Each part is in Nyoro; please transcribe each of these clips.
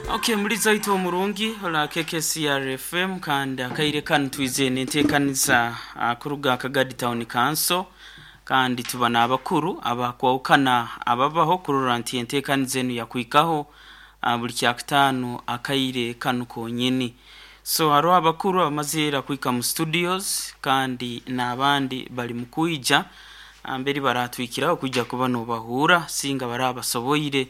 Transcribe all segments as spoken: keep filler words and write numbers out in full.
Okay, muliza itu omurungi ola K K C R F M, kandi akaire kanu twize nenteekaniza uh, kuruga Kagadi Town Council, kandi tuba n'abakuru abakwawukana ababaho kurora nti enteekaniza enu yakwikaho uh, buli kyakutaano akaire kanu konyini. So hariho abakuru abamazire kwika mu studios, kandi n'abandi bali mu kwija mberi baratwikiraho kwijja kuba nobahuura singa barabasoboire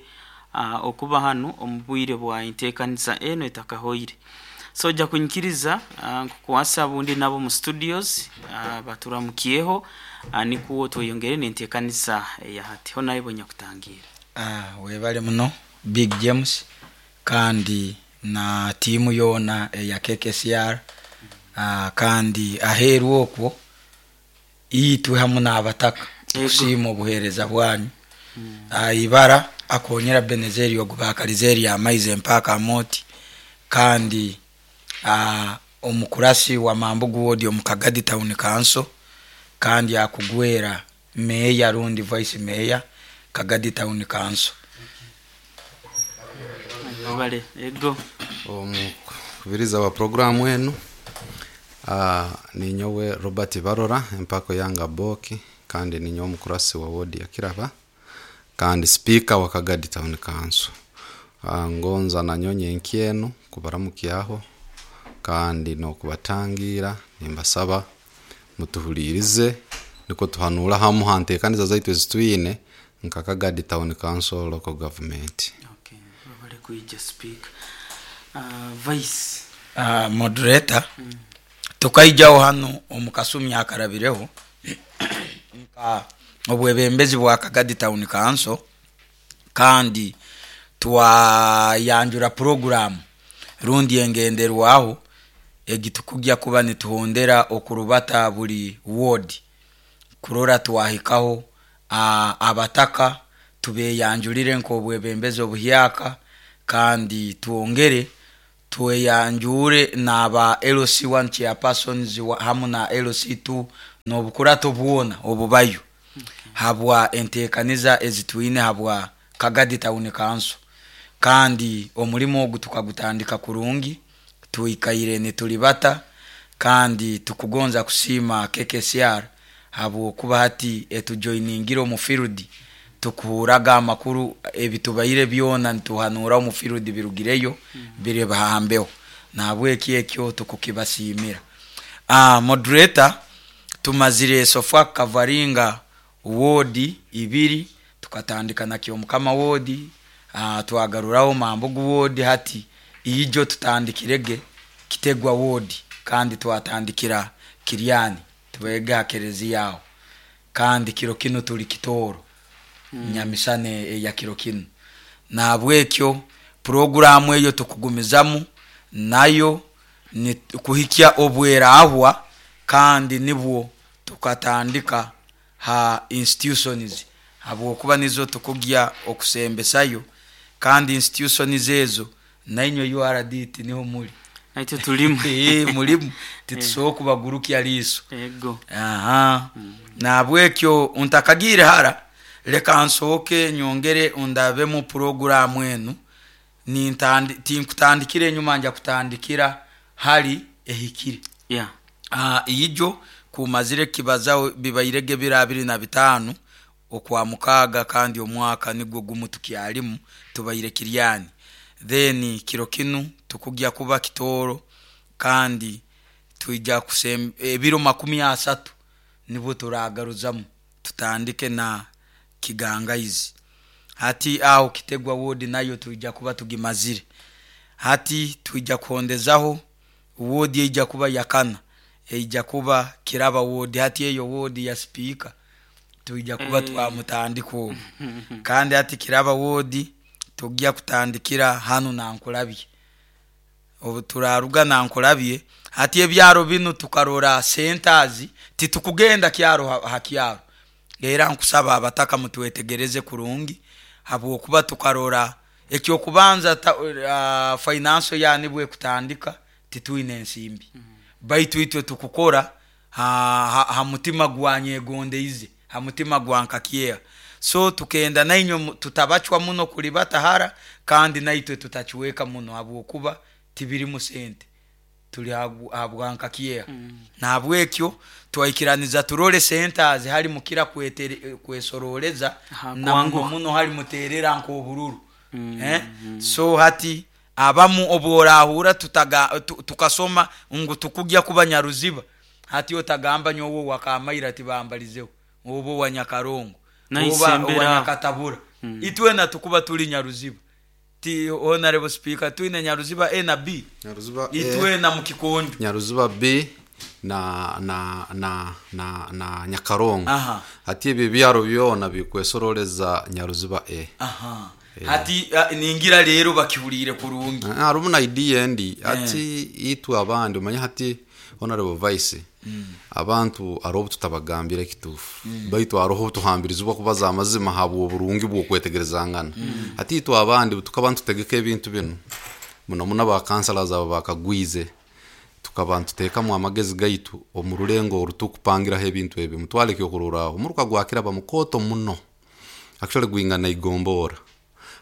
uh, okuba hanu omu bwire bwa enteekaniza eno etakahoire. So ojja kunyikiriza uh, nkukwasa bundi nabo mu studios uh, baturamukyeho uh, nikuwo tweyongere n'enteekaniza eya hati ho naye bonyakutangira. Ah, webale muno, Big James, kandi na tiimu yoona eya K K C R. ah, kandi aheeru okwo itwe hamu n'abataka tukusiima obuheereza bwanyu. Ah, ibara akonyera Benezeri ogu bakalize amaizi empaka amoti, kandi ah, omukurasi wa Mambugu Ward omu Kagadi Town Council, kandi akugwera meya rundi vice mayor Kagadi Town Council. Bale ego. Omukubiriza wa programu enu, uh, ninyowe Robert Barora empako yanga boki, kandi ninyowe omukurasi wa wodi ya Kiraba kandi speaker wa Kagadi Town Council. uh, ngonza nanyonye enkyenu kubaramukyaho kandi nokubatangira, nimbasaba mutuhulirize niko tuhanura hamu hantekaniza zaitu ezitwine nka Kagadi Town Council local government. Okay, bale kuija, speaker, uh, vice. uh, moderator tukaijaho hano omu kasumi akarabireho nka obwebembezi bwa Kagadi Town Council, kandi twayanjura program rundi engenderwaho egitukujya kuba nituhondera okurubata buli ward kurora twahikaho uh, abataka tubeyanjulire nk'obwebembezi obuhyaka, kandi twongere tweyanjure n'aba L C one chairpersons wa- hamu na L C two n'obukurato bwona obubayo habwa enteekaniza ezitwine habwa Kagadi Town Council. Kandi omulimo ogu tukagutandika kurungi, twikaire nitulibata, kandi tukugonza kusiima K K C R habwokuba hati etujoiningire omu field. Tukuhuraga amakuru ebitubaire byona nituhanura omu field birugireyo biri bahambeho, nahabweki ekyo tukukibasiimira. uh, moderator tumazire so far kavaringa wodi ibiri. Tukatandika na Kyomukama wodi, uh, twagaruraho Mambugu wodi, hati ijo tutandikirege Kitegwa wodi, kandi twatandikira Kiryani tubega kereziya aho, kandi kiro kino tuli Kitooro mm. nyamisane eya kiro kino. Nahabwekyo puroguramu eyo tukugumizamu nayo ni kuhikya obwerahwa, kandi nibwo tukatandika ha institutions habwokuba nizo tukugya okusembesayo, kandi institutions ezo nainywe U R D niho muli. Naitwe tulimu. Eh, mulimu, titusobola kubagurukya liiso. Ego. Aha, nabwekyo ntakagire hara, leka nsooke nyongere ndabemu puroguramu enu. Nintandi tinkutandikira enyuma, nja kutandikira hali ehikire. Yeah uh, ijo kumazire kibazaho bibairege biro abiri na bitaano okwa mukaaga, kandi omwaka nigwo gumu tukyalimu, tubaire Kiryani, then kiro kinu tukugya kuba Kitooro, kandi twija kusem ebiro makumi asatu nibwo turagaruzamu tutandike na Kigangaizi. Hati aho Kitegwa wodi nayo twija kuba tugimazire. Hati twija kuhondezaho wodi eija kuba yakana, eija kuba Kiraba wodi. Hati eyo wodi ya speaker twija kuba Eh. twamutandika obu, kandi hati Kiraba wodi tujya kutandikira hanu Nankulabye. Obu turaruga Nankulabye, hati ebyaro binu tukarora centers, titukugenda kyaro ha, ha kyaro. Era nkusaba abataka mutwetegereze kurungi, habwokuba tukarora ekyokubanza ta, uh, finance yani kutandika titwine ensimbi mm. Baitu itwe tukukora ha, ha, ha mutima gwanyegondeize, ha mutima gwa nkakyeha. So tukenda nainywe mu- tutabachwa muno kulibata hara. Kandi naitwe tutakiweka muno habwokuba tibirimu sente, tuli habwanka kyeha. mm. Nahabwekyo twaikiraniza turole sente hali mukira kwesoroleza na muno muno hali muterera nk'obururu. mm. eh? mm. So hati abamu obworahura tutaga tukasoma ngu tukugya kuba Nyaruziba, hati otagamba nyowe wakamaira tibambalizeho obo wa Nyakarongo oba wa Nyakatabura. mm. Itwena tukuba tuli Nyaruziba ti honorable speaker twine Nyaruziba A na B, Nyaruziba itwena mukikonjo Nyaruziba B na na na na na Nyakarongo. Hati ebi byaro byona bikwesoroleza Nyaruziba A. Aha. E. Hati uh, ningira rero bakihurire kurungi. Harumu na idea endi hati itwe abandi umanya hati honorable vice. Mm. Abantu arobo tutabagambira kitufu. Mm. Baitu aroho tuhambirizwa kubaza amazima habwo burungi bwo kwetegerezangana. Mm. Hati itwe abandi tukaba tutegeka ebintu bino muno muno ba councillors aba bakagwize tukaba tutekamu amagezi gaitu omurulengo orutukupangiraho ebintu ebi mutwaleke okururaho muruka gwakira bamukoto muno actually gwingana igombora.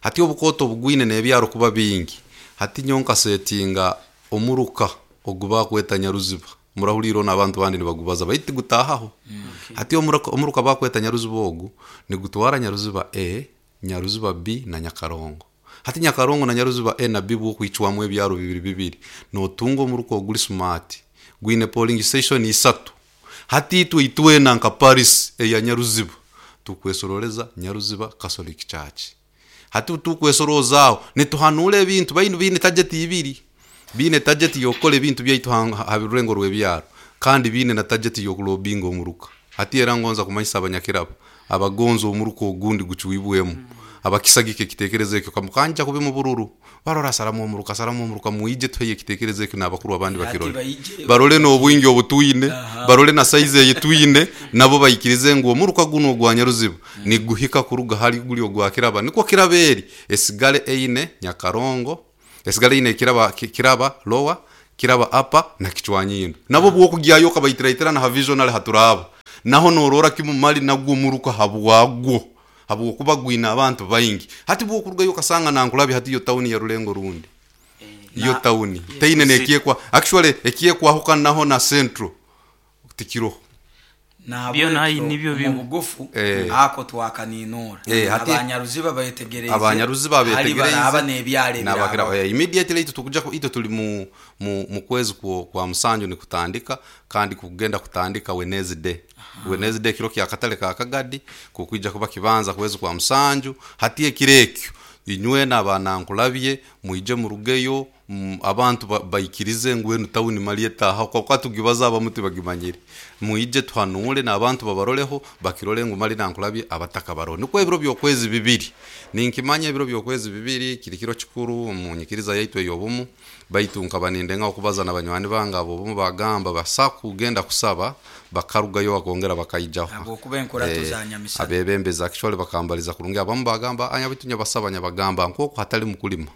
Hati obukoto bugwine nebyaro kuba bingi hati nyonka setinga omuruka oguba kweta Nyaruziba murahuliro n'abantu bandi nibagubaza baiti gutahaho. Mm. Okay. Hati omuruka omuruka bakweta Nyaruziba ogu nigutwara Nyaruziba A, Nyaruziba B na Nyakarongo. Hati Nyakarongo na Nyaruziba A na B bwo kwicwamu ebyaro bibiri bibiri notunga omuruka oguli smart gwine polling station isatu. Hati itwe itwena nka Paris eya Nyaruziba tukwesoroleza Nyaruziba Catholic Church. Hati tukwesorozaho nituhanule ebintu bayinu bine target ibiri bine target yokole ebintu byaitu habirengo rwebyaro kandi bine na target yokulobinga omuruka. Hati era ngonza kumanyisa abanyakirabo abagonzo omuruka ogundi gucuibwemu. Mm. Abakisagike kitekerezo ekyo kamukanja kubi mu bururu barora salamu omuruka salamu omuruka muije tuheye kitekerezo ekyo nabakuru abandi bakirole barole no obwingi obutuine barole na size yituine nabo bayikirize ngo omuruka guno ogwa Nyaruziba ni guhika kuruga hali guli ogwa Kiraba niko Kiraberi esigale eine Nyakarongo esigale ine Kiraba Kiraba lower Kiraba upper na Kichwanyindo nabo bwo kugyayo kabayitiraitira na visional haturaba naho norora kimumali nagwo muruka habwagwo habwo kuba gwina abantu baingi. Hati bwo kurugayo kasanga nankulabi hati yo town ya Rulengo rundi iyo e, town teine nekiekwa actually ekiekwa hoka naho na central tikiro na byo nayi nibyo bimugufu eh. Ako twakaninura eh, abanyaruziba bayetegereze abanyaruziba bayetegereze aba nebyale nabakira eh, immediately itu tukuja ito tuli mu mu kwezi kwa, kwa musanju ni kutandika kandi kugenda kutandika Wednesday. Wednesday kiro kya katale ka Kagadi kukwija kuba kibanza kwezi kwa musanju hati ekirekyo inywe nabanankulabye muije murugeyo abantu bayikirize ngwenu town malieta kwa kwatugibaza abamuti bagimanyire muije twanule nabantu babaroleho bakirole ngo mali nankulabye abataka baro niko ebiro byokwezi bibiri ninkimanya ebiro byokwezi bibiri kirikiro kikuru munyikiriza yaitwe yobumu baitu nkabaninde nka okubaza nabanywani banga abo bumu bagamba basaku genda kusaba bakarugayo bakongera bakaijaho abo kuba enkora tuzanyamisa abebembeza actually bakambaliza kurungi abamu bagamba anya bitunya basaba nyabagamba nkoko hatali mukulima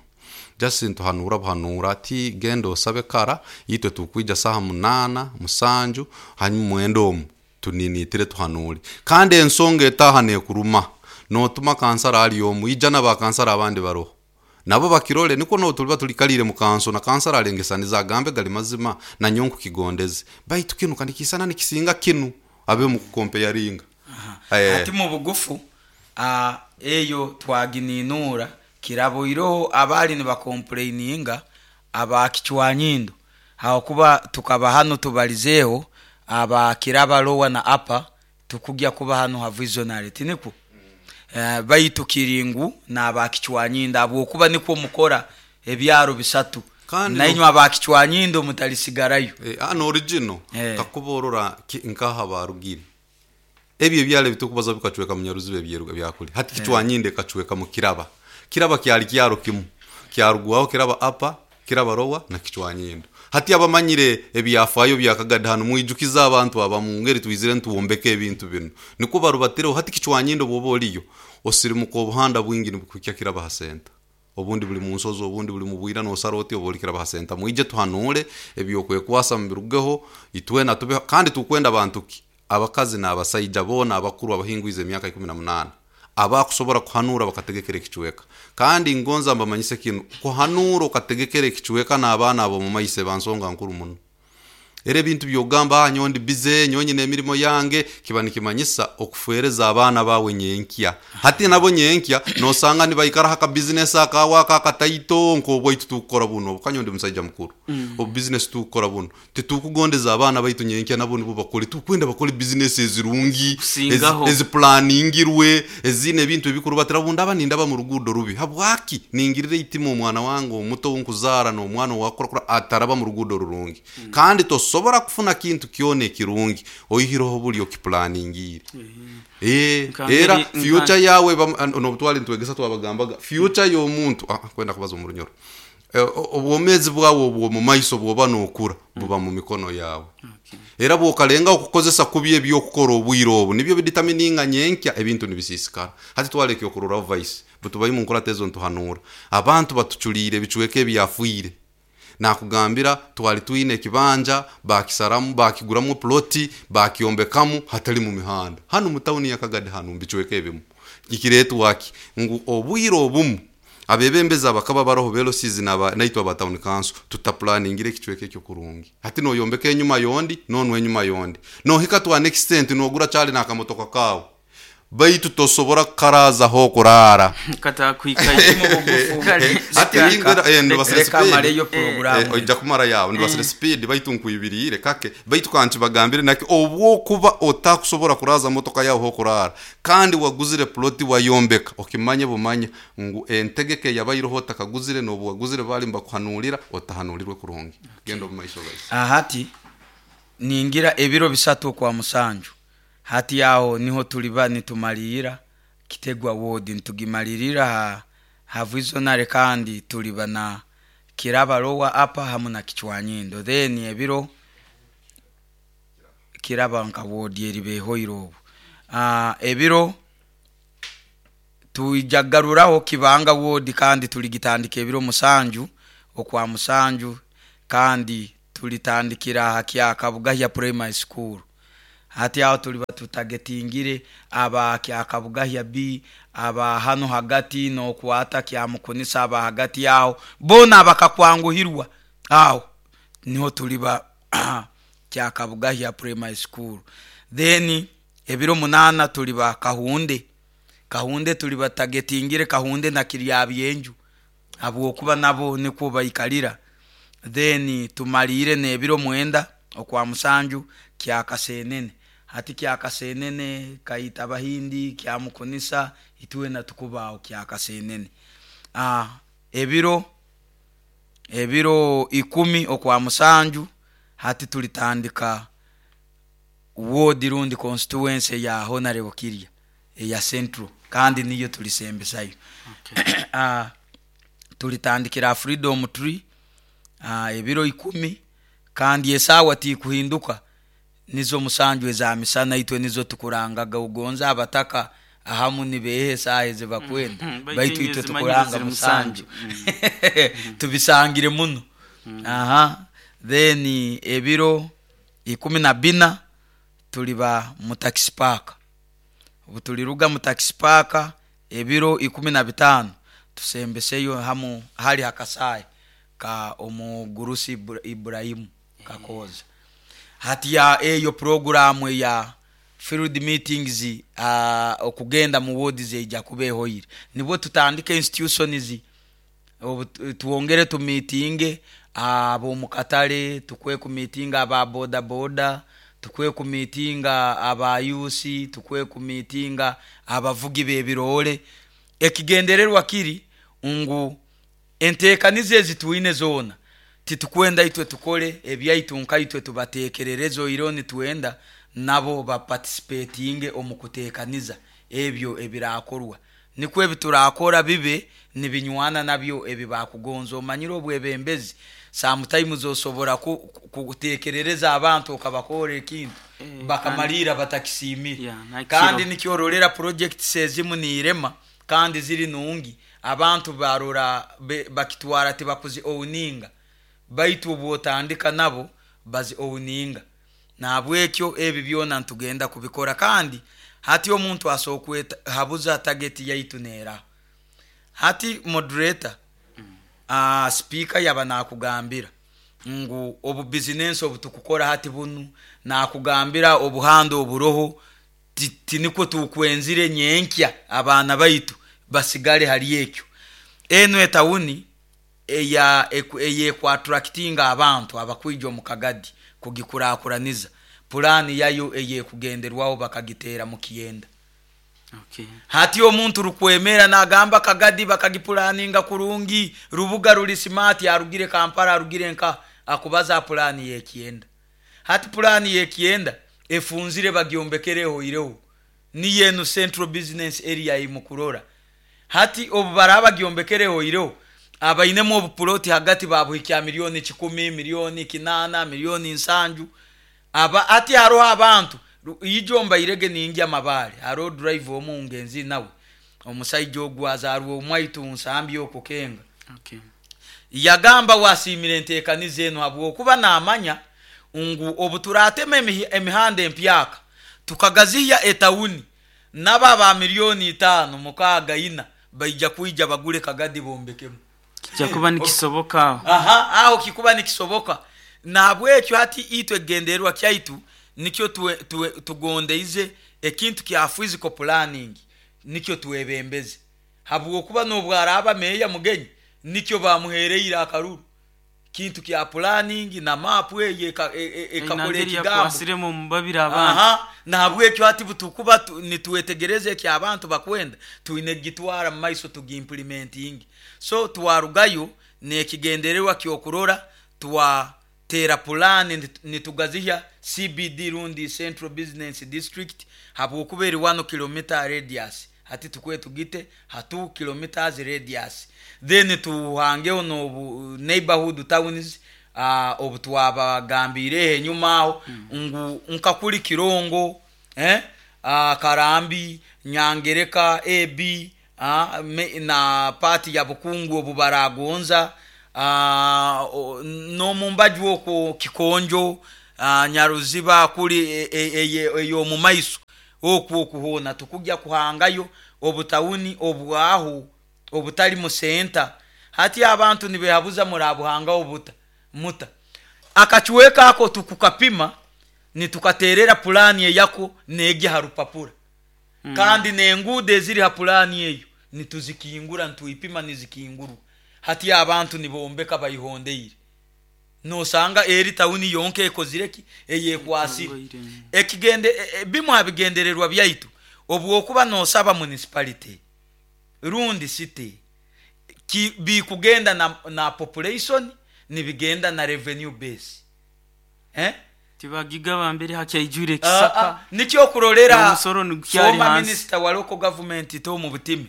just tuhanura buhanura ati gendo sabe kara yitwe tukwija saha munana musanju hanyuma mwendo omu tuninitire tuhanure kandi ensonga etahane kuruma notuma kansara ali omu ijana ba kansara abandi baroho nabo bakirole niko no tuliba tulikalire mu kanso na kansara alengesaniza agambe gali mazima na nyonku kigondeze baitu kinu kandi kisana nikisinga kinu abe mu kukompe yaringa. Ati mu bugufu a eyo twagininura kiraboiroho abali ni bakomplaininga abakichwanyindo hakuba tukaba hano tubalizeho aba Kiraba lower na upper tukugya kuba hano ha visionary tiniko. Mm. Uh, baitu kiringu na abakichwanyindo abo kuba niko mukora ebyaro bisatu na inywa abakichwanyindo mutalisigarayo eh ano original eh. Kakuborora nkaha barugire ebyo byale bitukubaza bikacweka mu Nyaruziba ebyeruga byakuli hati kichwanyinde eh. Kacweka mu Kiraba Kiraba kyali kyaro kimu kyarugwaho Kiraba upper Kiraba lower na Kichwanyindo. Hati abamanyire ebyafayo byakagada hano muijukiza abantu abamungeri twizire ntuwombeke ebintu bino niko barubatiro hati Kichwanyindo bobo oliyo osirimuka obuhanda bwingi nibukukya Kiraba hasenta obundi buli mu nsozo obundi buli mu bwira no saroti oboli Kiraba hasenta muije tuhanule ebyokwekwasa mubirugeho itwena tube kandi tukwenda abantu ki abakazi n'abasayija bona abakuru abahingwize emyaka ikumi na munana Abakusobora kuhanura bakategekera ekicweka. Kandi ngonza mbamanyise kinu, kuhanura okategekera ekicweka n'abaana abo mu maise bansonga nkuru muno. Era ebintu byogamba, ah, nyowe ndi bize, nyowe nyine emirimo yange, kiba nikimanyisa okufereza abaana bawe nyenkya. Hati nabo nyenkya nosanga nibaikara haka business akawa akakataito nk'obwaitu tukukora buno, kanyo ndi musaija mukuru. Mm. Obu business tukukora buno titukugondeza abaana baitu nyenkya nabo nibo bakole, tukwenda bakole business ezirungi, Kusingaho. ezi planingirwe, ezine ebintu ebikuru batira bundaba nindaba mu rugudo rubi. Habwaki ningirire itima omwana wange omuto nkuzaara n'omwana owakura ataraba mu rugudo rurungi. Mm. Kandi tosobora kufuna kintu kyona ekirungi oihireho buli okiplaningire. Eh, Nka era ngeri- future yawe nobutwali ntwegesa twabagambaga future y'omuntu, ah, kwenda kubaza mu runyoro. Eh, o- obwomezi bwawe obwo mu maiso bwoba nokura buba mu mikono yawe. Era bwokalenga okukozesa kubi ebyokukora obwire obu nibyo biditamininga nyenkya ebintu nibisisikara. Hati twaleke okurora vice butubayi mu nkora tezo ntuhanura abantu batuculire ebicweka ebyafuire. Nakugambira twali twine ekibanja bakisaramu bakiguramu ploti bakyombekamu hatali mu mihanda hano mu tawuni ya Kagadi hano mbicweka ebimu ikiretwa ki ngu obwire obumu abebembezi bakaba baroho velocities naba naitwa ba town council tutaplaningire ekicweka ekyo kurungi. Hati noyombeka enyuma yondi nonwe enyuma yondi nohika to an extent nogura cyali nakamotoka kawe baitu tosobora kukaraza ho kurara Katakwikaye Mu bugufu. Hati ningwera eh ndibasire Reka speed. maleyo Eh, porogaramu. oija kumara yawe ndibasire speed baitu nkwibirire kake baitu kanchi bagambire naki obwokuba otakusobora kuraza motoka yawe ho kurara kandi waguzire ploti wayombeka okimanye bumanye ngu entegeke yabayiroho otakaguzire n'obu waguzire bali mbakuhanurira otahanulirwe kurungi. Genda omu maiso guys. Ahati ningira ebiro bisatu kwa musanju hati aho niho tuliba nitumalira Kitegwa ward nitugimalirira ha havizonare kandi tuliba na Kiraba lower upper hamu na Kichwanyindo. Then ebiro Kiraba nka ward eribehoire obu uh, ebiro tuijagaruraho Kibanga ward kandi tuligitandika ebiro musanju okwa musanju kandi tulitandikira ha Kyakabugahya primary school. Hati aho tuliba tutagetingire aba Kyakabugahya B aba hano hagati nokwata Kyamukunisa aba hagati aho bona abakakwanguhirwa aho niho tuliba Kyakabugahya primary school. Then ebiro munana tuliba Kahunde. Kahunde tuliba tagetingire Kahunde na Kiryabyenju abwokuba nabo niko baikalira. Then tumalire nebiro mwenda okwa musanju Kyakasenene. Hati Kyakasenene kaita Bahindi Kyamukunisa ituwe na tukubao Kyakasenene. Ah, ebiro ebiro ikumi okwa musanju hati tulitandika ward rundi constituency ya Honorable Kirya eya Central kandi niyo tulisembesayo. Okay. Ah, tulitandikira Freedom Tree ah, ebiro ikumi kandi esawa tikuhinduka nizo musanju eza misana itwe nizo tukurangaga ugonza abataka ahamu nibehe saha ezibakwenda Mm, baitu baitu itwe zimanyire tukuranga ziri musanju. Musanju. Tubisangire muno. Aha then ebiro ikumi na bina tuliba mu taxi park. Obu tuliruga mu taxi park ebiro ikumi na bitano tusembeseyo hamu hali hakasai ka omugurusi Ibra-, Ibrahimu Kakoza. Hati ya eyo programu ya field meetings, uh, okugenda mu ward zeija kubehoire nibwo tutandika institutions obu tu-, tuwongere tumitinge abo mu katale, tukwe ku meeting aba boda boda, tukwe ku meeting aba youth, tukwe ku meeting abavugi b'ebirole. Ekigendererwa kiri ngu enteekanizo ezi twine zoona titukwenda itwe tukole ebyaitu nkaitwe tubateekerereze oiro nitwenda nabo baparticipatinge omu kuteekaniza ebyo ebirakorwa nikwo ebiturakora bibe nibinywana nabyo ebibakugonza. Omanyire obwebembezi sometimes osobora ku-, ku-, kuteekerereza abantu okabakora ekintu Eh, bakamalira batakisimire. Yeah, nakiro. Kandi nikyororera projects ezimu nirema kandi ziri nungi abantu barora be-, bakitwara tibakuzi owninga baitu obwotandika nabo bazi owninga. Nabwekyo ebi byona ntugenda kubikora kandi Hati omuntu asokweta habuza target yaitu nera hati moderator mm. uh, speaker yaba nakugambira ngu obu business obu tukukora hati bunu nakugambira obuhando oburoho tiniko tukwenzire nyenkya abaana baitu basigale hali ekyo. Eno etawuni eya eyekwatractinga abantu abakwija omu Kagadi kugikurakuraniza pulani yayo eyekugenderwaho bakagitera mu Kiyenda. Okay. Hati omuntu rukwemera nagamba Kagadi bakagipulaninga kurungi rubuga ruli smart arugire Kampala arugire nka akubaza pulani y'Ekiyenda. Hati pulani y'Ekiyenda efunzire bagyombekereho ireho ni yenu central business area imukurora. Hati obubaraba gyombekereho ireho abainemu obupuloti hagati babuhikya milioni kikumi, milioni kinana, milioni nsanju. Aba ati haroho abantu ijomba irege ningi amabale haro drive omu ngenzi nawe omusajja ogwazarwa omwaitu nsambi okukenga. Okay. Yagamba wasimire entekanize eno habwokuba namanya ngu obuturatema emihanda empyaka tukagaziya etawuni naba ba milioni itano mukaaga ina baija kuija bagule Kagadi bombekemu. Kikuba nikisoboka. Aha, aho kikuba nikisoboka. Nabwekyo hati itwe genderwa kyaitu nikyo tugondeize ekintu kya physical planning nikyo tuwebembeze habwokuba nobwaraba meya mugenyi nikyo bamuhereire akaruru kintu kya planning na map eye ekakole ekigambo kwasiremo mubabira abantu. Aha, nabwekyo hati butukuba nituwetegereze ki abantu bakwenda tuine gitwara maiso tugimplementing. So twarugayo nekigendererwa kyokurora twa tera pulani nitugaziha C B D rundi Central Business District habwokuba eri one kilometer radius hati tukwe tugite ha two kilometers radius then tuhangeho no neighborhood towns uh, obutwabagambire enyuma aho mm. ngu nkakuli Kirongo eh uh, Karambi, Nyangereka, A B uh, me, na party ya Bukungu obubaragonza Uh, no mumbaju oko Kikonjo uh, Nyaruziba kuli eyo e, e, mumaiso okwo okuhona tukujya kuhangayo obutawuni obwaho obutali mu center. Hati abantu nibehabuza murabuhanga obuta muta akachuweka ako tukukapima nitukaterera pulani eyako nege harupapura mm. Kandi nengude ziri ha pulani eyo nituzikingura ntuipima nizikinguru. Hati abantu nibombeka bayihondeire nosanga eri tawuni yonke ekozireki eyekwasire ekigende e, bimu abigendererwa byaitu obwokuba nosaba municipality rundi city ki bikugenda na, na population nibigenda na revenue base eh tibagigaba mbere hakyaijure kisaka nikyo kurolera former minister wa local government to mu butimi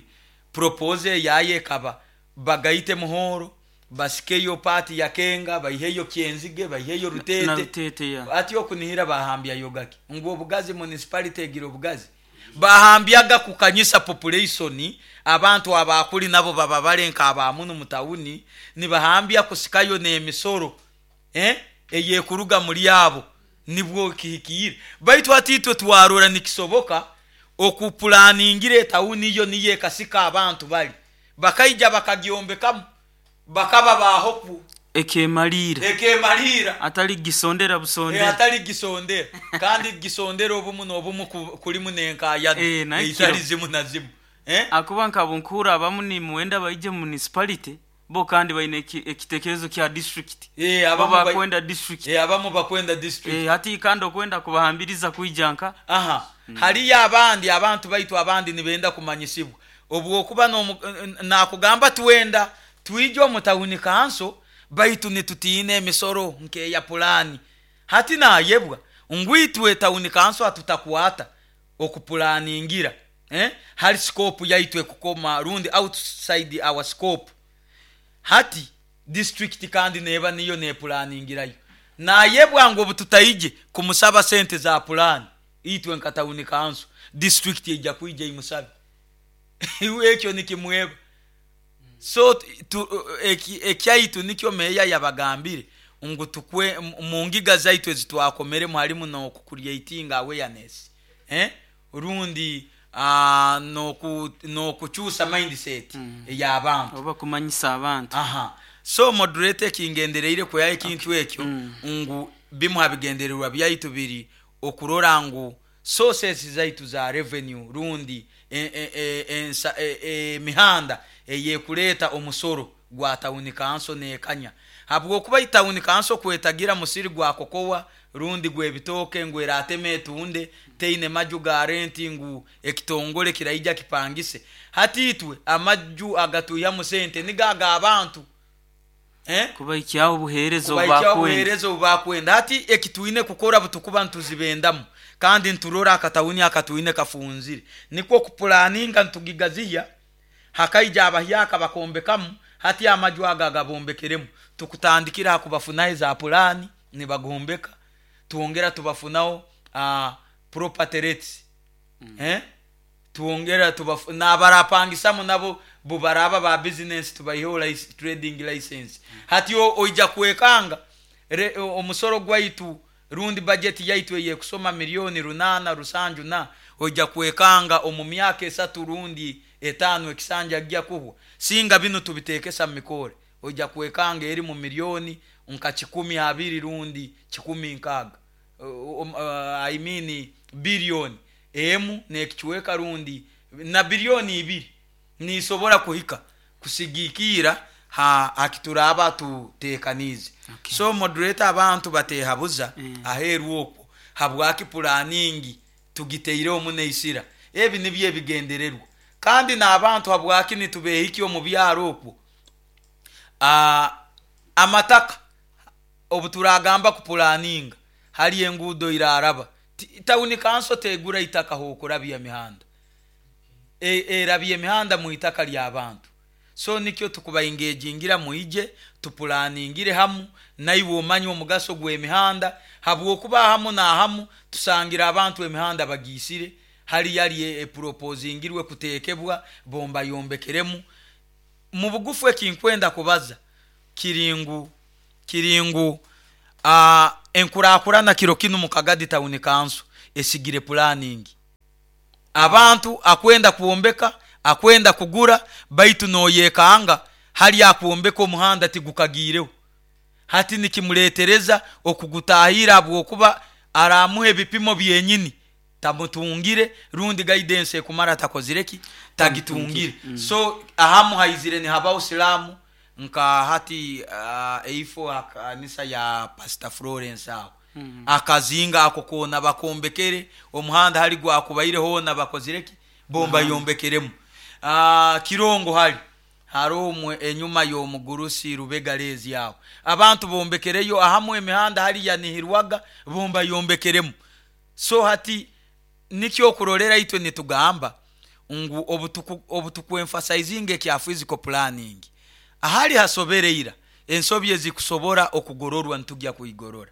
propose yaye kaba bagaite muhoro basikeyo party ya Kenga baiheyo Kyenzige baiheyo Rutete na Rutete ya ati okunihira bahambya yogaki ngo obugazi municipality egira obugazi bahambyaga kukanyisa population abantu abakuli nabo baba balenka abamunu mutawuni nibahambya kusikayo nemisoro eh eyekuruga muri abo nibwo kihikire baitu atitwe twarora nikisoboka okupulaningire tawuni yo niye kasika abantu bali bakaija bakagyombekamu bakaba bahopu ekemalira ekemalira atali gisondera busondera e atali gisondera kandi gisondera obumu n'obumu kulimu nenkaya e, eitali zimu na zimu eh akuba nkabunkura abamu ni muenda baije municipality bo kandi baine ekitekerezo kya district eh abamu bakwenda district eh abamu bakwenda district eh hati kandi okwenda kubahambiriza kuijanka aha mm. Haliya abandi abantu baitu abandi nibenda kumanyisibwa obwokuba no nakugamba tuwenda tuijo mutawuni kanso baitu nitutine emisoro nkeya pulani hati nayebwa ngwitwe tawuni kanso atutakwata okupulaningira eh hali scope yaitwe kukoma rundi outside our scope hati district kandi neba niyo ne pulaningirayo nayebwa ngo bututaije kumusaba sente za pulani itwe nkatawuni kanso district ejja kuija imusabe ekyo nikimweba. So ekyaitu nikyo meya yabagambire ngu tukwe mu ngiga zaitu ezitwakomere halimu no kucreating awareness eh Rundi uh, noku nokuchusa mindset mm. ey'abantu oba kumanyisa abantu. Aha, so moderator, ekingendereire kweyaho ekintu ekyo mm. ngu bimu habigendererwa byaitu biri okurora ngu sources zaitu za revenue rundi emihanda e, e, e, e, eyekuleeta omusoro gwa town council nekanya, habwokuba town council kwetagira musiri gwa kokowa rundi gwebitooke ngu erateme etunde, teine maju ga renti ngu ekitongole kiraija kipangise. Hati itwe amaju agatuyamu sente nigaga abantu eh? Kubaikyaho obuheereza obubakwenda, obuheereza obubakwenda. Hati ekitwine kukora butukuba ntuzibendamu kandi nturora akatawuni akatwine kafunzire, nikwo kupulaninga ntugigaziya hakaija abahyaka bakombekamu. Hati amaju aga gabombekeremu tukutandikira kubafunaho za pulani nibagombeka, tuongera tubafunaho uh, property rates mm. eh? Tuongera tubafu n'abarapangisamu nabo bubaraba ba business tubayiho trading license mm. Hati oija kwekanga omusoro gwaitu rundi budget yaitu eyekusoma milioni runana rusanju na oija kwekanga omu myaka esatu rundi etano ekisanja gya kuhwa singa bino tubitekesa mikore oija kwekanga eri mu milioni nka kikumi abiri rundi kikumi nkaga uh, uh, I mean bilioni emu nekichweka rundi na bilioni ibiri nisobora kuhika kusigikira ha akituraba tutekanize. Okay. So moderator, abantu batehabuza mm. aheru okwo habwaki pulaningi tugiteire omuneisira ebi nibyo ebigendererwa kandi n'abantu habwaki nitubehiki omu byaro okwo uh, amataka obuturagamba kupulaninga hali enguudo iraraba tawuni kanso tegura itaka hokurabya mihanda e, erabya emihanda mu itaka ly'abantu. So nikyo tukubaingegingira muije tupulaningire hamu naiwe omanye omugaso gw'emihanda habwokuba hamu na hamu tusangira abantu emihanda bagiisire hali yali eproposingirwe kutekebwa bomba yombekeremu. Mu bugufu ekinkwenda kubaza kiringu kiringu uh, enkurakurana kiro kinu mu Kagadi Town Council esigire planning. Abantu akwenda kuombeka akwenda kugura baitu noyekanga hali akuombeka omuhanda tigukagireho. Hati nikimuletereza okugutahira abwokuba aramuhe ebipimo byenyini tamutungire rundi guidance ekumara takozireki tagitungire. Mm. So ahamu haizire ni habao silamu nka hati uh, eifo akanisa ya Pastor Florence aho mm. akazinga ako kona bakombekere omuhanda hali gwakubaire hona bakozireki bomba mm. yombekeremu. Uh, kirongo hali haromwe enyuma y'omugurusi Rubega lezi aho abantu bombekereyo ahamu emihanda hali yanihirwaga bomba yombekeremu. So hati nikyo kurolera itwe nitugamba ngu obutuku obutuku emphasizing ekya physical planning ahali hasobereira ensobi ezikusobora okugororwa ntujya kuigorora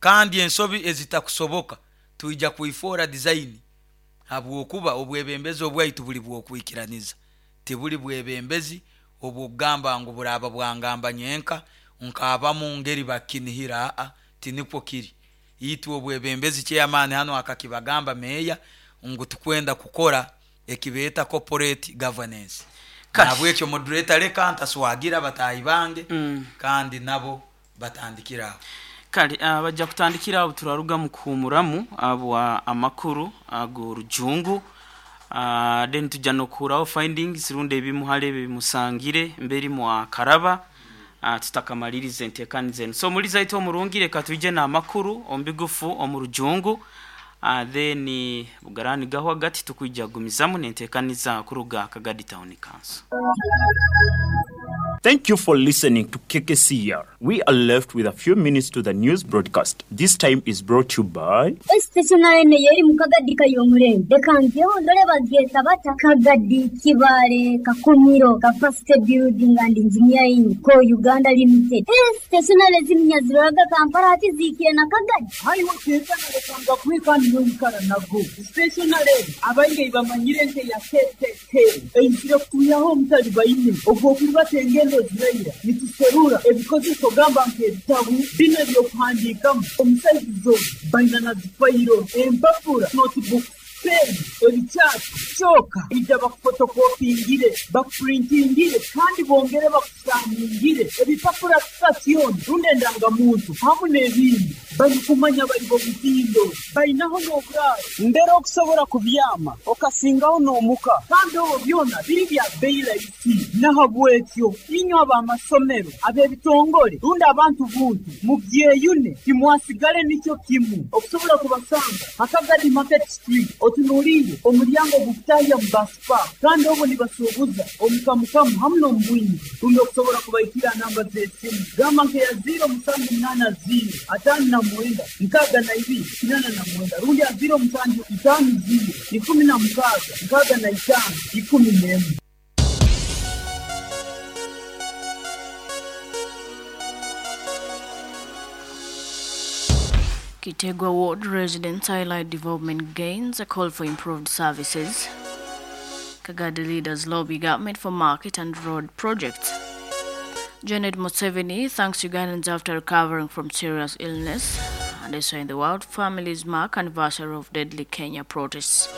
kandi ensobi ezitakusoboka tuija kuifora design habwokuba obwebembezi obwaitu buli bwokwikiraniza tibuli bwebembezi obwogamba ngu buraba bwangamba nyenka nkabamu ngeri bakinihira a tinikwo kiri itwe obwebembezi chairman hano akakibagamba meya ngu tukwenda kukora ekibeta corporate governance. Nabwekyo moderator leka ntaswagira batayi bange mm. kandi nabo batandikira kale uh, bajja kutandikira abo turaruga mu kuhumuramu abo amakuru ago rujungu uh, then tujja nokuraho findings runde ebimuhale bimusangire mberi mwa karaba uh, tutakamalirize entekanize. So muri zaito omurungire katuje na amakuru ombigufu omurujungu uh, then bugarani gaho hagati tukujja gumizamu nentekaniza kuruga Kagadi Town Council. Thank you for listening to K K C R. We are left with a few minutes to the news broadcast. This time is brought to you by Stationary yeri mu Kagadi kayomurembe. Dekanzeho ndore bagyeta bata Kagadi Kibale Kakumiro Capacity Building and Engineering ko Uganda Limited. Stationary zimnyaziraga Kampala ati zikire na Kagadi. Haiwo tetana lekanga kwikani n'oyikara nago. Stationary abainge bamanyire nte ya K K K. Einzire kuyaho omutali bayine. Ogwo kubatenge ziraira nituserura ebikozeso gamba nk'ebitabu bino ebyokuhandiikamu omusaizizo baina na zifayiro empapura notebook Peeni, ebikyapa, kyoka ija bakufotokopingire, bakupurintingire kandi bongere bakusaningire ebipapura sitasioni rundi endangamuntu hamu n'ebindi. Barikumanya bari bomutindo bainaho n'oburaaro mbere okusobola kubyama okasingaho n'omuka kandi obwo byona biri bya bei rahisi. Nahabwekyo inywe ab'amasomero, ab'ebitongole rundi abantu buntu mubyeyune, timwasigale nikyo kimu. Okusobola kubasanga Hakagadi Market Street, otunuliire omulyango ogukutahya mu baspa, kandi obwo nibasuubuza omukamukamu hamu n'omubwingi. Rundi okusobola kubaikira namba z'esimu gamba nkeya ziro musanju munaana ziro ataano na mwenda nkaaga na ibiri kinaana na mwenda rundi ya ziro musanju itaano ziro ikumi na mukaaga nkaaga na itaano ikumi n'emwe. Kitegwa Ward residents highlight development gains, a call for improved services. Kagadi leaders lobby government for market and road projects. Janet Museveni thanks Ugandans after recovering from serious illness. And also in the world, families mark anniversary of deadly Kenya protests.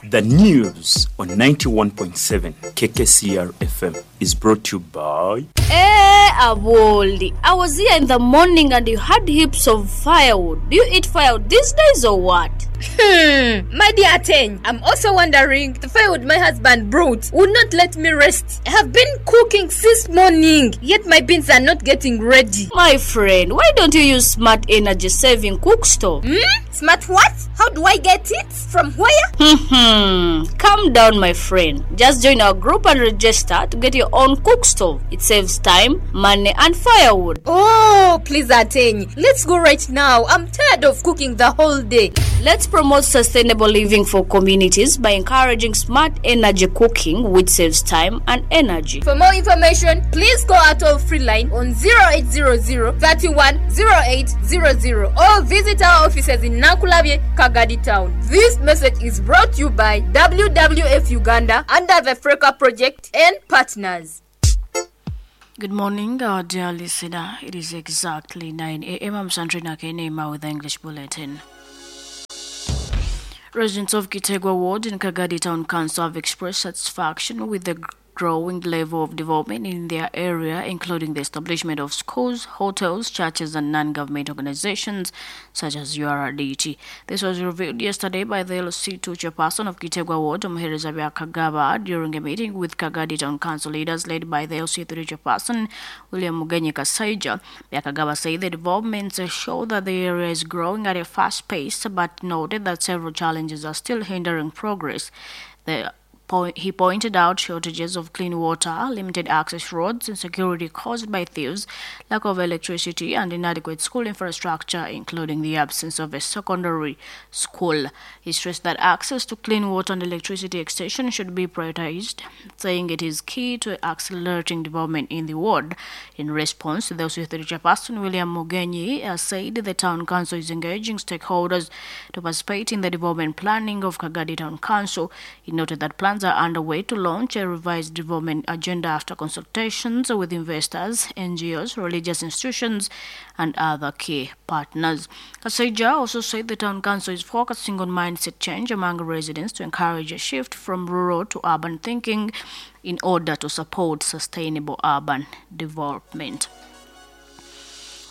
The news on ninety-one point seven K K C R F M is brought to you by... Hey, Aboli, I was here in the morning and you had heaps of firewood. Do you eat firewood these days or what? Hmm, my dear Ateng, I'm also wondering, the firewood my husband brought would not let me rest. I have been cooking since morning, yet my beans are not getting ready. My friend, why don't you use smart energy saving cook stove? Hmm? Smart what? How do I get it? From where? Hmm, calm down, my friend. Just join our group and register to get your own cook stove. It saves time, money, and firewood. Oh, please, Ateng, let's go right now. I'm tired of cooking the whole day. Let's promote sustainable living for communities by encouraging smart energy cooking, which saves time and energy. For more information, please call our toll-free line on zero eight zero zero, thirty-one, zero eight zero zero or visit our offices in Nankulabye, Kagadi Town. This message is brought to you by W W F Uganda under the Freka Project and partners. Good morning, our dear listener. It is exactly nine a.m. I'm Sandrina Kenema with the English Bulletin. Residents of Kitegwa Ward in Kagadi Town Council have expressed satisfaction with the growing level of development in their area, including the establishment of schools, hotels, churches, and non-government organizations such as U R D T. This was revealed yesterday by the L C two chairperson of Kitegwa Ward, Omuhereza Byakagaba, during a meeting with Kagadi Town Council leaders led by the L C three chairperson, William Mugenyi Kasaija. Byakagaba said the developments show that the area is growing at a fast pace, but noted that several challenges are still hindering progress. The He pointed out shortages of clean water, limited access roads, insecurity caused by thieves, lack of electricity, and inadequate school infrastructure, including the absence of a secondary school. He stressed that access to clean water and electricity extension should be prioritized, saying it is key to accelerating development in the ward. In response, the L C three chairperson, William Mugenyi, said the town council is engaging stakeholders to participate in the development planning of Kagadi Town Council. He noted that plans are underway to launch a revised development agenda after consultations with investors, N G Os, religious institutions, and other key partners. Kasaija also said the town council is focusing on mindset change among residents to encourage a shift from rural to urban thinking in order to support sustainable urban development.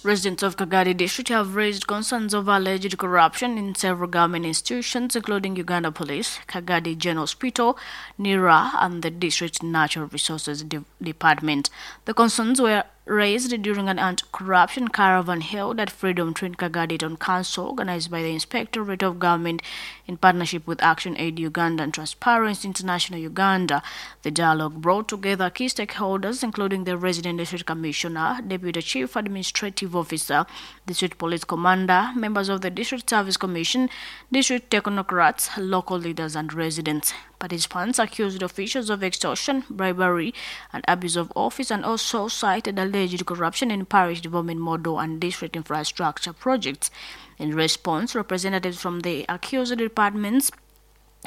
Residents of Kagadi District have raised concerns over alleged corruption in several government institutions, including Uganda Police, Kagadi General Hospital, NIRA, and the District Natural Resources De- Department. The concerns were raised during an anti-corruption caravan held at Freedom Train Kagadi Town Council, organized by the Inspectorate of Government in partnership with Action Aid Uganda and Transparency International Uganda. The dialogue brought together key stakeholders, including the Resident District Commissioner, Deputy Chief Administrative Officer, District Police Commander, members of the District Service Commission, district technocrats, local leaders, and residents. Participants accused officials of extortion, bribery, and abuse of office, and also cited alleged corruption in parish development model and district infrastructure projects. In response, representatives from the accused departments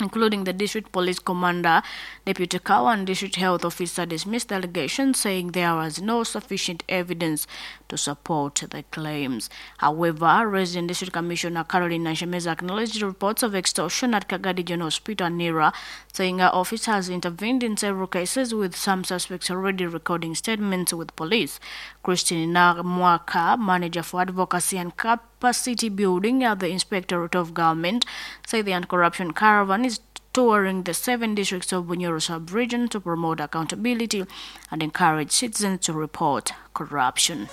including the district police commander, deputy Kawa, and district health officer, dismissed the allegations, saying there was no sufficient evidence to support the claims. However, Resident District Commissioner Caroline Nashemeza acknowledged reports of extortion at Kagadi General Hospital Nira, saying her office has intervened in several cases, with some suspects already recording statements with police. Christine Mwaka, manager for advocacy and capacity building at the Inspectorate of Government, said the anti-corruption caravan is touring the seven districts of Bunyoro sub-region to promote accountability and encourage citizens to report corruption.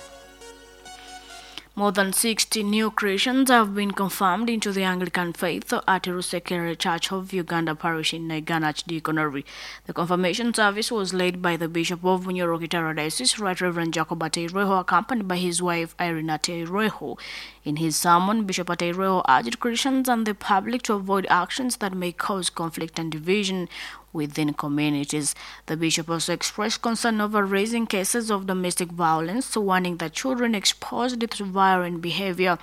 More than sixty new Christians have been confirmed into the Anglican faith at Rusekere Church of Uganda Parish in Naigana Archdeaconry. The confirmation service was led by the Bishop of Bunyoro Kitara Diocese, Right Reverend Jacob Ateireho, accompanied by his wife Irene Ateireho. In his sermon, Bishop Ateireho urged Christians and the public to avoid actions that may cause conflict and division within communities. The bishop also expressed concern over raising cases of domestic violence, warning that children exposed to violent behavior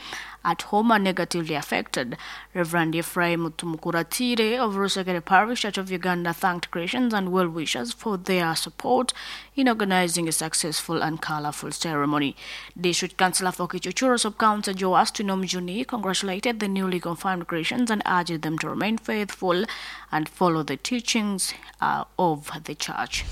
at home are negatively affected. Reverend Ephraim Tumukuratire of Rusekere Parish Church of Uganda thanked Christians and well-wishers for their support in organizing a successful and colorful ceremony. District Councillor for Kichuchuro Sub-County Joas Tunomjuni congratulated the newly confirmed Christians and urged them to remain faithful and follow the teachings uh, of the church.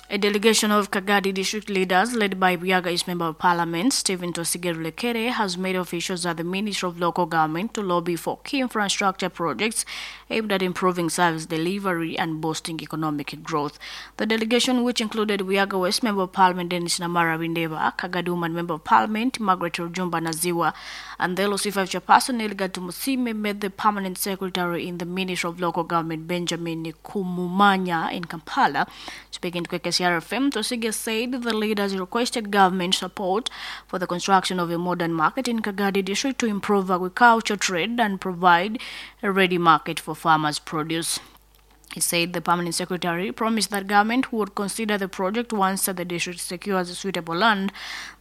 A delegation of Kagadi district leaders led by Buyaga East Member of Parliament Stephen Twesige Rulekere has made officials at the Ministry of Local Government to lobby for key infrastructure projects aimed at improving service delivery and boosting economic growth. The delegation, which included Buyaga West Member of Parliament Dennis Namara Windeba, Kagadi Woman Member of Parliament Margaret Rujumba Naziwa, and the L O C five chairperson Elga Tumusime, met the permanent secretary in the Ministry of Local Government Benjamin Kumumanya in Kampala. Speaking to K K C R F M, Twesige said the leaders requested government support for the construction of a modern market in Kagadi district to improve agriculture trade and provide a ready market for farmers' produce. He said the permanent secretary promised that government would consider the project once the district secures suitable land.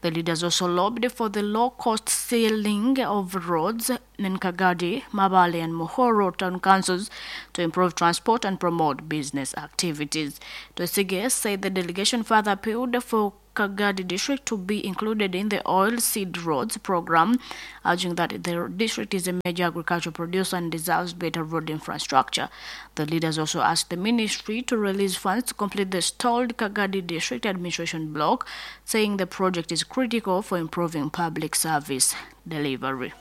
The leaders also lobbied for the low-cost sealing of roads in Kagadi, Mabale and Mohoro town councils to improve transport and promote business activities. Twesige said the delegation further appealed for Kagadi district to be included in the oil seed roads program, urging that the district is a major agricultural producer and deserves better road infrastructure. The leaders also asked the ministry to release funds to complete the stalled Kagadi district administration block, saying the project is critical for improving public service delivery.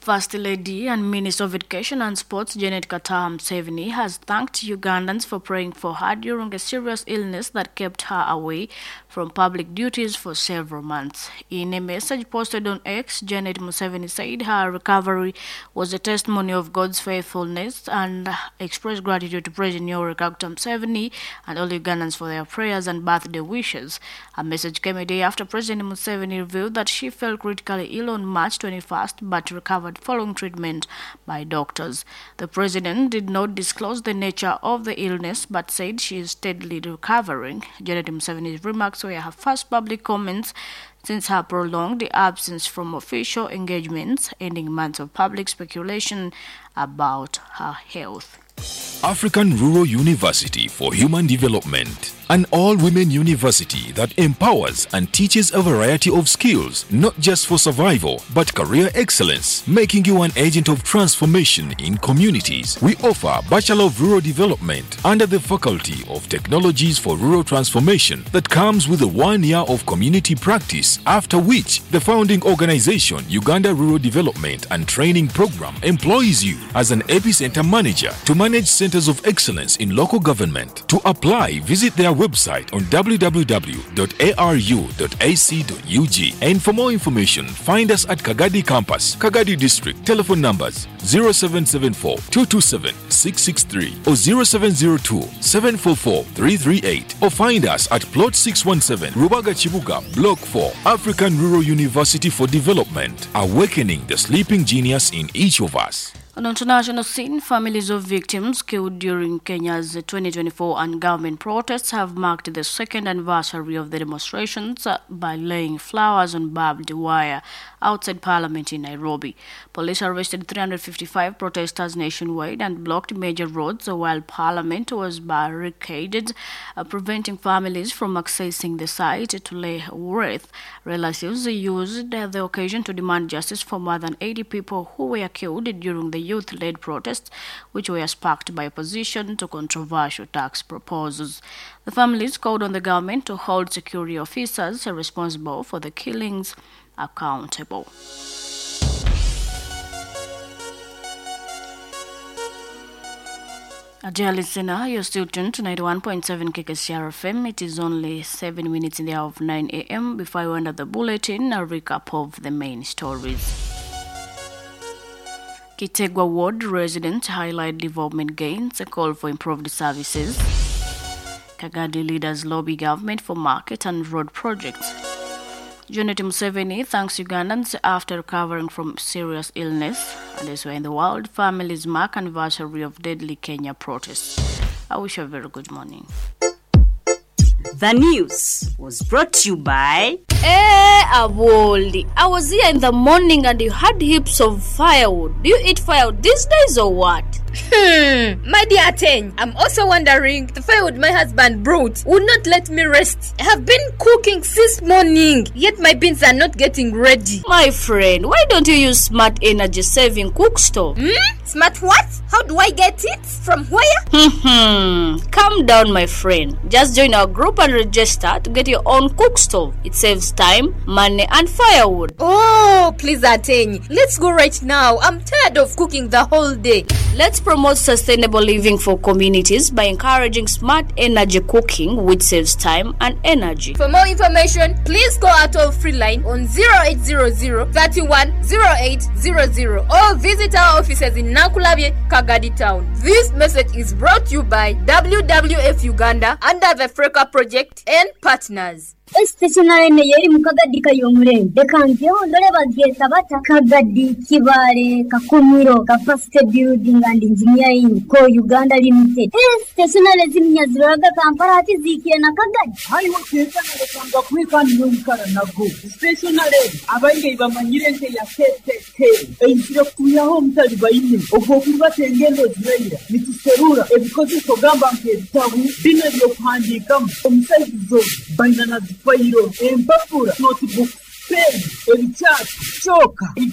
First Lady and Minister of Education and Sports Janet Kataaha Museveni has thanked Ugandans for praying for her during a serious illness that kept her away from public duties for several months. In a message posted on X, Janet Museveni said her recovery was a testimony of God's faithfulness and expressed gratitude to President Yoweri Kaguta Museveni and all Ugandans for their prayers and birthday wishes. Her message came a day after President Museveni revealed that she fell critically ill on March twenty-first but recovered following treatment by doctors. The president did not disclose the nature of the illness but said she is steadily recovering. Janet Museveni's remarks were her first public comments since her prolonged absence from official engagements, ending months of public speculation about her health. African Rural University for Human Development, an all-women university that empowers and teaches a variety of skills, not just for survival, but career excellence, making you an agent of transformation in communities. We offer Bachelor of Rural Development under the Faculty of Technologies for Rural Transformation that comes with a one year of community practice, after which the founding organization, Uganda Rural Development and Training Program, employs you as an epicenter manager to manage centers of excellence in local government. To apply, visit their website on w w w dot a r u dot a c dot u g, and for more information, find us at Kagadi Campus, Kagadi District. Telephone numbers zero seven seven four, two two seven, six six three or zero seven zero two, seven four four, three three eight, or find us at Plot six one seven, Rubaga Chibuga, Block four, African Rural University for Development, awakening the sleeping genius in each of us. On international scene, families of victims killed during Kenya's twenty twenty-four and government protests have marked the second anniversary of the demonstrations by laying flowers on barbed wire outside Parliament in Nairobi. Police arrested three hundred fifty-five protesters nationwide and blocked major roads while Parliament was barricaded, uh, preventing families from accessing the site to lay wreath. Relatives used the occasion to demand justice for more than eighty people who were killed during the youth-led protests, which were sparked by opposition to controversial tax proposals. The families called on the government to hold security officers responsible for the killings accountable. Dear listener, you're still tuned to ninety-one point seven K K C R F M. It is only seven minutes in the hour of nine A M. Before I end the bulletin, a recap of the main stories. Kitegwa Ward residents highlight development gains, a call for improved services. Kagadi leaders lobby government for market and road projects. Janet Museveni thanks Ugandans after recovering from serious illness. And elsewhere in the world, families mark anniversary of deadly Kenya protests. I wish you a very good morning. The news was brought to you by... Hey, Awoli, I was here in the morning and you had heaps of firewood. Do you eat firewood these days or what? Hmm, my dear Ten, I'm also wondering, the firewood my husband brought would not let me rest. I have been cooking since morning, yet my beans are not getting ready. My friend, why don't you use smart energy saving cook stove? Hmm? Smart what? How do I get it? From where? Hmm, calm down, my friend. Just join our group and register to get your own cook stove. It saves time, money, and firewood. Oh, please, Aten, let's go right now. I'm tired of cooking the whole day. Let's promote sustainable living for communities by encouraging smart energy cooking, which saves time and energy. For more information, please call our toll-free line on zero eight zero zero, thirty-one, zero eight zero zero or visit our offices in Nakulabye, Kagadi Town. This message is brought to you by W W F Uganda under the Freka Project and partners. Stationary yeri mu Kagadi kayomurembe reka ndore bagyeta bata Kagadi Kibale Kakumiro Capacity Building and Engineering Co Uganda Limited. Stationary zimnyaziraga Kampala ati zikire na Kagadi hayiwo tekana lekanga kwikani n'omukara nago stationary abainge bamanyire nke ya K K K eizire kutuyaho omutali baine ogwo kuribata engendo ziraira nituserura ebikozeso gamba nk'ebitabu bino ebyokuhandiikamu omusaizi baina na fayiro empapura notebook pen ebikyati kyoka.